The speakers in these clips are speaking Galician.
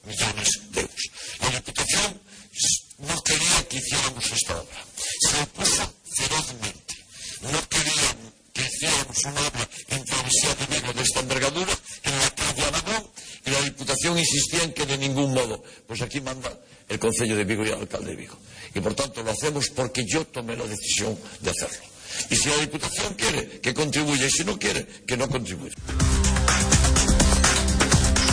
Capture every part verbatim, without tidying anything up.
millones de euros. La Diputación no quería que hiciéramos esta obra, se opuso ferozmente, no quería que hiciéramos una obra en Travesía de Vigo de esta envergadura en la calle Aragón, y la Diputación insistía en que de ningún modo. Pues aquí manda el Concello de Vigo y el alcalde de Vigo, y por tanto lo hacemos porque yo tomé la decisión de hacerlo. Y si la Diputación quiere, que contribuya, y si no quiere, que no contribuya.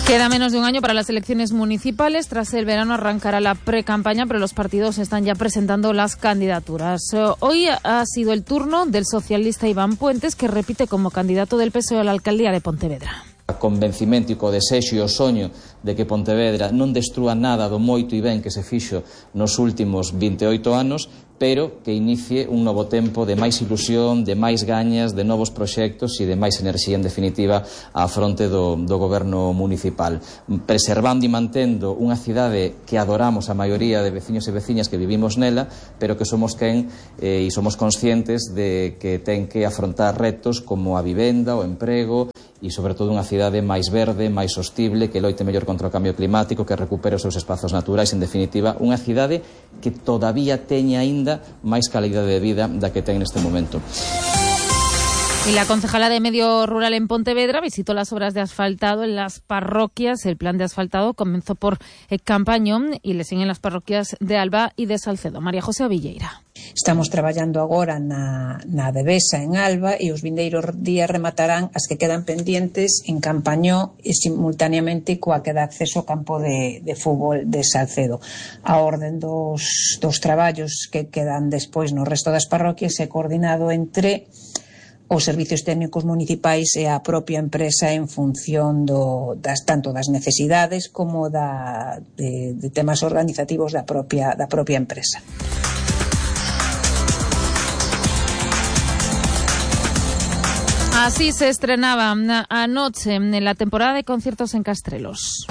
Queda menos de un año para las elecciones municipales. Tras el verano arrancará la pre-campaña, pero los partidos están ya presentando las candidaturas. Hoy ha sido el turno del socialista Iván Puentes, que repite como candidato del P S O E a la alcaldía de Pontevedra. Convencimento e co desexo e o soño de que Pontevedra non destrúa nada do moito e ben que se fixo nos últimos vinte e oito anos, pero que inicie un novo tempo de máis ilusión, de máis gañas, de novos proxectos e de máis enerxía, en definitiva, á fronte do, do goberno municipal, preservando e mantendo unha cidade que adoramos a maioría de veciños e veciñas que vivimos nela, pero que somos quen eh, e somos conscientes de que ten que afrontar retos como a vivenda, o emprego, e sobre todo unha cidade máis verde, máis sostible, que loite mellor contra o cambio climático, que recupere os seus espazos naturais, en definitiva, unha cidade que todavía teña aínda máis calidade de vida da que ten neste momento. Y la concejala de Medio Rural en Pontevedra visitó las obras de asfaltado en las parroquias. El plan de asfaltado comenzó por Campañón y le siguen las parroquias de Alba y de Salcedo. María José Villeira. Estamos traballando agora na, na Devesa en Alba e os vindeiros días rematarán as que quedan pendientes en Campañón e simultaneamente coa que dá acceso ao campo de, de fútbol de Salcedo. A orden dos, dos traballos que quedan despois no resto das parroquias é coordinado entre os servicios técnicos municipais e a propia empresa en función do, das, tanto das necesidades como da, de, de temas organizativos da propia, da propia empresa. Así se estrenaba anoche en la temporada de conciertos en Castrelos.